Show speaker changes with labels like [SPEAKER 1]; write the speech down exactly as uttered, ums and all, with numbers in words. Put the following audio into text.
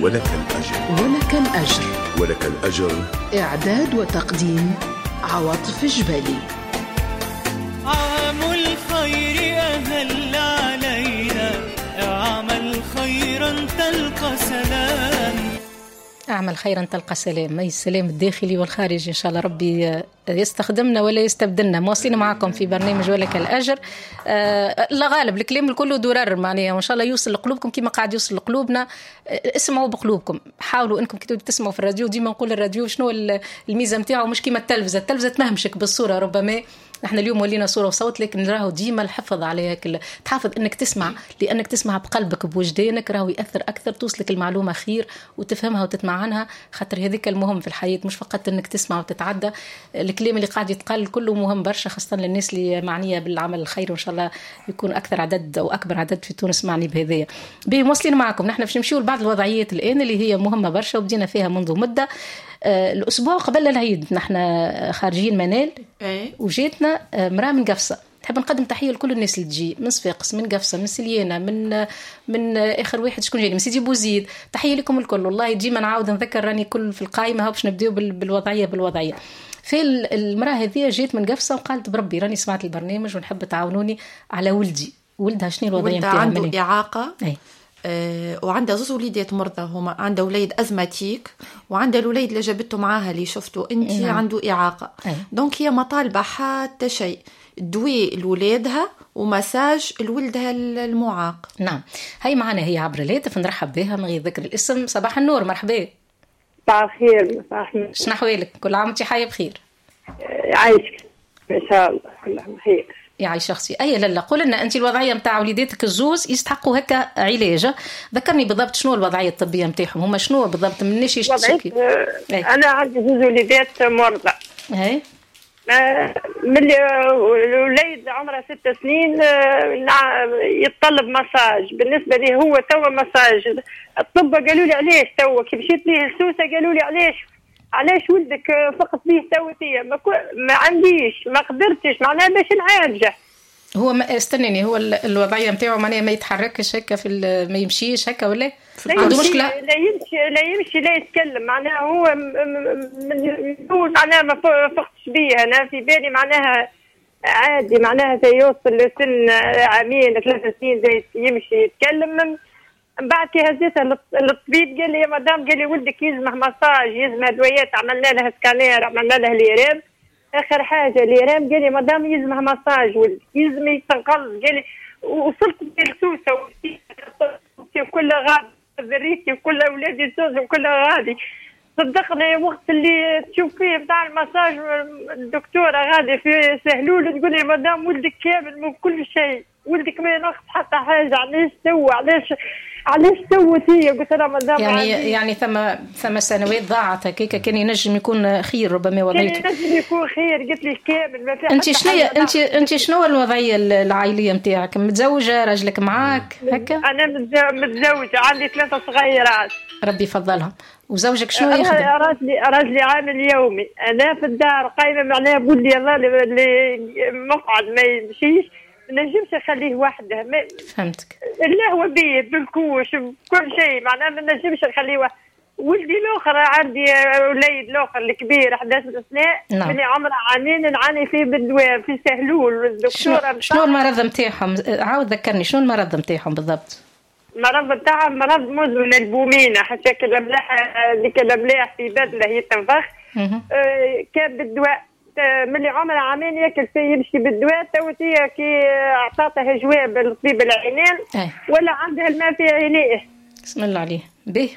[SPEAKER 1] ولك الأجر.
[SPEAKER 2] ولك الأجر.
[SPEAKER 1] ولك الأجر.
[SPEAKER 2] إعداد وتقديم عواطف الجبالي.
[SPEAKER 3] عام الخير أهل علينا، اعمل خيرا تلقى سلام.
[SPEAKER 4] أعمل خيرا تلقى سلام، أي السلام الداخلي والخارجي إن شاء الله ربي يستخدمنا ولا يستبدلنا. مواصلين معكم في برنامج ولك الأجر. آه لا غالب الكلام الكل درر معناها، وإن شاء الله يوصل لقلوبكم كما قاعد يوصل لقلوبنا. آه اسمعوا بقلوبكم، حاولوا أنكم كي تسمعوا في الراديو، ديما نقول الراديو شنو الميزة نتاعو، مش كيما التلفزة، التلفزة تمهمشك بالصورة ربما. نحن اليوم ولينا صورة وصوت، لكن راهو ديما الحفظ عليها، تحافظ انك تسمع، لانك تسمع بقلبك بوجدانك راهو ياثر اكثر، توصلك المعلومة خير وتفهمها وتتمعنها، خاطر هذيك المهم في الحياة، مش فقط انك تسمع وتتعدى. الكلام اللي قاعد يتقال كله مهم برشا، خاصة للناس اللي معنية بالعمل الخير، وان شاء الله يكون اكثر عدد او اكبر عدد في تونس معني بهذايا. باهي مواصلين معكم، نحن باش نمشيو لبعض الوضعيات الان اللي هي مهمة برشا وبدينا فيها منذ مده. الأسبوع قبل العيد نحن خارجين منال وجاتنا امرأة من قفصة. نحب نقدم تحية لكل الناس اللي تجي من صفاقس، من قفصة، من سليانة، من من آخر واحد شكون جاني من سيدي بوزيد. تحية لكم الكل، والله ديما نعاود نذكر راني كل في القائمة باش نبداو بالوضعية بالوضعية. في المرأة هذه جات من قفصة وقالت بربي راني سمعت البرنامج ونحب تعاونوني على ولدي. ولدها شنو الوضعية نتاعها؟
[SPEAKER 5] عنده إعاقة. أي. آه، وعندها زوز وليدات مرضى، هما عندها وليد asthmatique وعندها الوليد اللي جابته معاها اللي شفته انت. نعم. عنده اعاقه. أي. donc هي ما طالبه حتى شيء، دواء لولادها ومساج لولدها المعاق.
[SPEAKER 4] نعم، هي معنا هي عبر الهاتف، نرحب بها من غير ذكر الاسم. صباح النور، مرحبا.
[SPEAKER 6] صباح الخير. صباح النور.
[SPEAKER 4] شنو احوالك؟ كل عام وانت حيه بخير.
[SPEAKER 6] عايشك ان شاء الله، كل عام بخير.
[SPEAKER 4] يعيش شخصي. اي لالا قول لنا انت الوضعية نتاع وليداتك الزوز يستحقوا هكا علاج، ذكرني بالضبط شنو الوضعية الطبية نتاعهم، هما شنو بالضبط مناش يشتكي؟
[SPEAKER 6] انا عندي زوز وليدات مرضى.
[SPEAKER 4] اي
[SPEAKER 6] من الوليد عمره ست سنين يتطلب مساج، بالنسبة لي هو توا مساج. الطب قالوا لي علاش توا كي مشيت ليه لسوسه قالوا لي علاش علاش ولدك فقط بيه توتيه؟ ما, ما عنديش، ما قدرتش معناها باش نعالجه.
[SPEAKER 4] هو ما استنيني، هو الوضعية نتاعو معناها ما يتحركش هكا في ما يمشيش هكا ولا عنده مشكلة؟
[SPEAKER 6] لا يمشي لا يمشي لا يتكلم، معناها هو من معناها ما فقتش بيه. انا في بالي معناها عادي، معناها يوصل لسن عامين ثلاث سنين زي يمشي يتكلم. من بعد كي هزيتها للطبيب قال لي يا مدام، قال لي ولدك يلزمه مساج، يلزمه ادويات، عملنا له سكانير، عملنا له l'IRM، اخر حاجة l'IRM قال لي مدام يلزمه مساج ولدك يلزم يتنقل. قال لي وصلت للسوسه وكل غادي ذريتي وكل اولادي الزوز وكل غادي. صدقني وقت اللي تشوف فيه بتاع المساج الدكتورة غادي في سهلول تقول لي مدام ولدك كامل من كل شيء، ولدك ما ينقص حتى حاجة، علاش توا علاش علاش توتي؟ قلت لها مدام
[SPEAKER 4] يعني يعني ثم ثم سنوات ضاعت هكاك، كان ينجم يكون خير ربما وضعيته،
[SPEAKER 6] كان ينجم يكون خير. قلت لي كامل ما في.
[SPEAKER 4] انت شنو انت انت شنو الوضعية العائلية نتاعك؟ متزوجة، راجلك معاك هكا؟
[SPEAKER 6] انا متزوجة، عندي ثلاثة صغيرات
[SPEAKER 4] ربي يفضلهم. وزوجك شنو يخدم؟
[SPEAKER 6] راجلي راجلي عامل يومي، انا في الدار قايمة معناها بولدي الله اللي مقعد ما يمشيش، ما نجمش نخليه وحده. ما
[SPEAKER 4] فهمتك.
[SPEAKER 6] لا هو بيه بال couche بكل شيء، معناها ما نجمش نخليه وحده. ولدي الاخر عندي وليد الاخر الكبير احد عشر سنة. نعم. من عمره عامين نعاني فيه بالدواء في سهلول الدكتورة.
[SPEAKER 4] شنو المرض نتاعهم؟ عاود ذكرني شنو المرض نتاعهم بالضبط؟
[SPEAKER 6] المرض نتاعهم مرض مزمن البومينه، حتى الاملاح اللي الاملاح في بدله يتنفخ. آه كان بالدواء ملي عمره عامين ياكل فيه يمشي بالدواء. توتيه كي اعطاته جواب الطبيب العينين ولا عندها الماء في عينيه.
[SPEAKER 4] بسم الله عليه. به